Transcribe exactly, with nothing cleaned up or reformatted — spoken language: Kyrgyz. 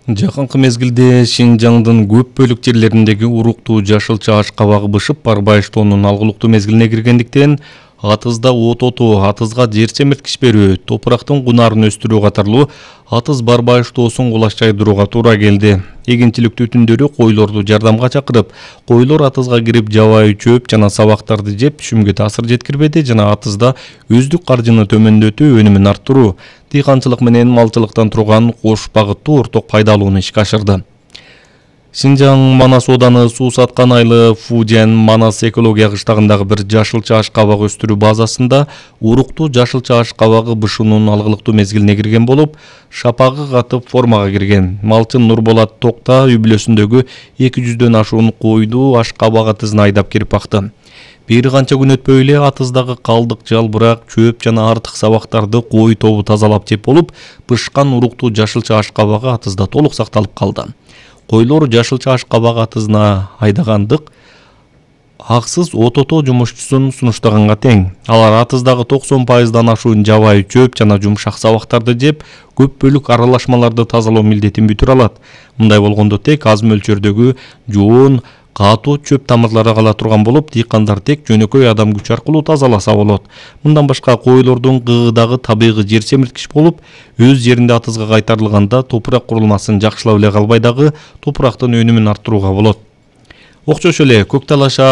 Жакынкы мезгилде Шинжаңдын көп бөлүк жерлериндеги уруктуу жашылча аш кабагы бышып, барбайыштоонун алгылыктуу мезгилине киргендиктен атызда от отуу, атызга жер семирткич берүү, топурактын кунарын өстүрүү катарлуу атыз барбайыштоосун кулаш жайдырууга туура келди. Эгинчилик түтүндөрү койлорду жардамга чакырып, койлор атызга кирип жабайы чөп жана сабактарды жеп түшүмгө таасир жеткирбеди жана атызда өздүк каржыны төмөндөтүү, өнүмүн арттыруу, дыйканчылык менен малчылыктан турган кош багыттуу орток пайдалууну ишке ашырды. Шинжаң Манас ооданы Суу Саткан айылы Фужен Манас экология кыштагындагы бир жашылча аш кабак өстүрүү базасында уруктуу жашылча аш кабагы бышуунун алгылыктуу мезгилине кирген болуп, шапагы катып формага кирген. Малчы Нурболот Токта үй бүлөсүндөгү эки жүздөн ашуун койду аш кабак атызына айдап кирип бакты. Бир канча күн өтпөй эле атыздагы калдык, жалбырак, чөп жана артык сабактарды кой тобу тазалап жеп болуп, бышкан уруктуу жашылча аш кабагы атызда толук сакталып калды. Койлор жашылча аш кабак атызына айдагандык аксыз от отоо жумушчусун сунуштаганга тең. Алар атыздагы токсон пайыздан ашуун жабайы чөп жана жумшак сабактарды жеп, көп бөлүк аралашмаларды тазалоо милдетин бүтүрө алат. Мындай болгондо тек аз мөлчөрдөгү жоон, катуу чөп тамырлары кала турган болуп, дыйкандар тек жөнөкөй адам күчү аркылуу тазаласа болот. Мындан башка койлордун кыгыдагы табигый жер семирткич болуп, өз жеринде атызга кайтарылганда топурак курулмасын жакшылап эле калбай дагы топурактын өнүмүн арттырууга болот. Окшош эле Көктал шаар